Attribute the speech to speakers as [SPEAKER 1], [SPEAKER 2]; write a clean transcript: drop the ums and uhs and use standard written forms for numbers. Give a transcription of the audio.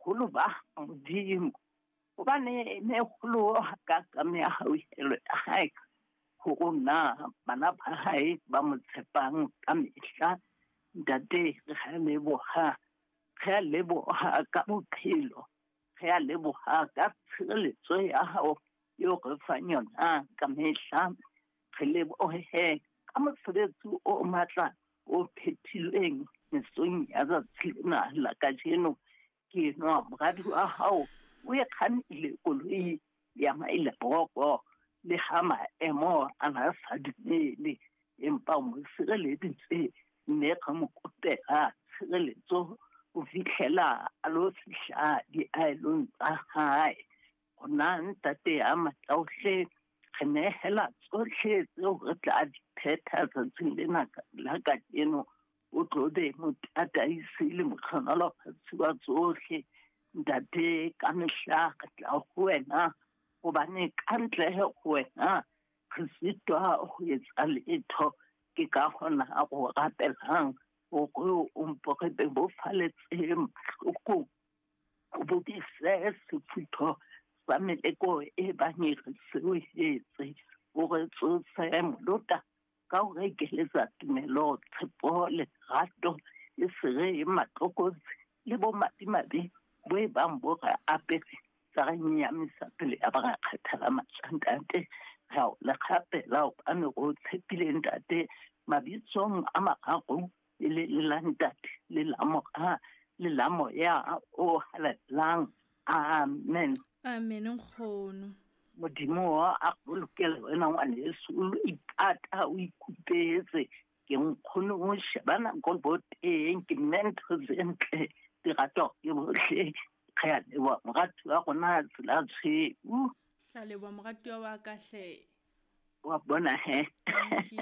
[SPEAKER 1] Boholo ba Modimo, hobane e kgolo ka ka mehauhelo ya hae ho rona bana ba hae ba mo tshepang ka mehla. Ntate, re a leboha, re a leboha ka bophelo, re a leboha ka tshireletso ya hao eo re fang yona ka mehla. Re lebohe ka mosebetsi o matla o phethilweng mesong ya tsatsi lena la kajeno. Ke enwa moradi wa hao o e kgannile koloi ya Maileboko, le ha maemo a na sa dumele, empa o mo sireleditse, mme re mo kopela tshireletso ho fihlela a lo fihla diaelong tsa hae. Rona Ntate ya matla ohle, re nehela tsohle tseo re tla di phetha tsatsing lena la kajeno. O tlo be motataisi le mohlohonolofatsi wa tsohle. Ntate, ka mehla re tla ho wena, hobane ka ntle ho wena re sitwa ho etsa letho. Ke ka hona go rapelang hore o mpo re bebofaletse mahloko, o bobise sefutho sa meleko e bang e re sewehetse, o re tsose molota ka ho re ekeletsa tumelo, tshepo le lerato, e se re matlokotsi le bomadimabe bo e bang bo re apere tsa re nyamisa pele ya ba ra kgathala matla. Ntate, re a o le kgapela hobane re o tshepile Ntate, mabitsong a mararo, e le la Ntate le la Mora le la Moya o halalelang. Amen.
[SPEAKER 2] Amen, nkgono.
[SPEAKER 1] Modimo a bolokele wena ngwaneso, o lo ipata o ikupetse. Ke nkgono o sheba nako bo teng, ke mme ntho tse ntle di ratwa ke bohle. Re a leboha moratuwa rona tsela tshweu.
[SPEAKER 2] Re a leboha moratuwa wa ka hle.
[SPEAKER 1] Wa bona he.